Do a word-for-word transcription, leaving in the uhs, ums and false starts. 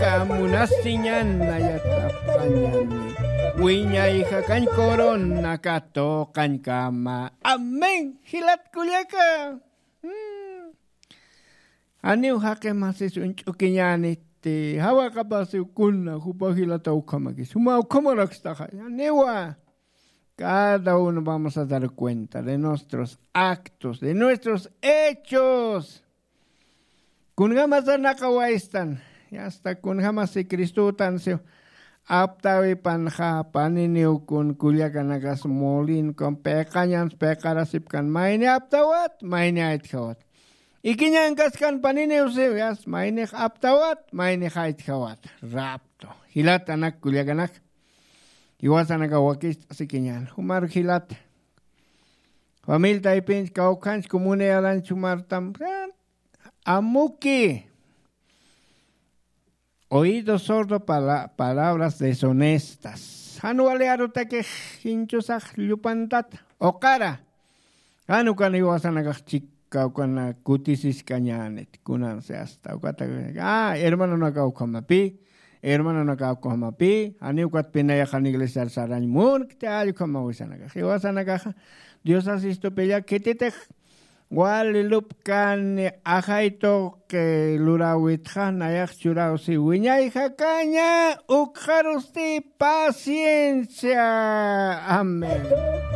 Kamunasiñana yatapxañani, wiñay jakañ corona katuqañkama. Amén. Jilat kullaka. Mm. Janiw jaqi masis uñch'ukiñäniti, jawaqapasiw kuna jupa jilata ukhamakis, juma ukhamarakistaxa, janiwa. Cada uno vamos a dar cuenta de nuestros actos, de nuestros hechos. Kunjamasa naqawaystan, y hasta kunjamasi Cristotansi aptawipanxa, paniniw kun kullakanakas molin kun piqañans piqarasipkan, mayni aptawat, mayni aytjawat. Ikiñankaskan paniniwsiw, yas, maynix aptawat, maynix aytjawat. Rapto. Jilatanak kullakanak. Jiwasanaka wakist'asikiñan. Jumar jilata. Familia taypinch kawkhanch comunidad anch jumartam. Amuki. Oído sordo para palabras deshonestas. Jan wali arutakix jinchusax llupantata. Uqara. Jan ukan jiwasanakax chika ukana kutisiskañänit. Kunansi hasta ukata. Ah, hermanonaka ukhamapi. Hermanonaka ukhamapi. Jani ukat pinayaxan iglesiar sarañ munkti, allkhamawisanakax. Jiwasanakaxa. Dios asistupilla khititix. Wali lupkani ajay tuqi luräwitxa, nayax churäwsi wiñay jakaña, ukxarusti paciencia. Amén.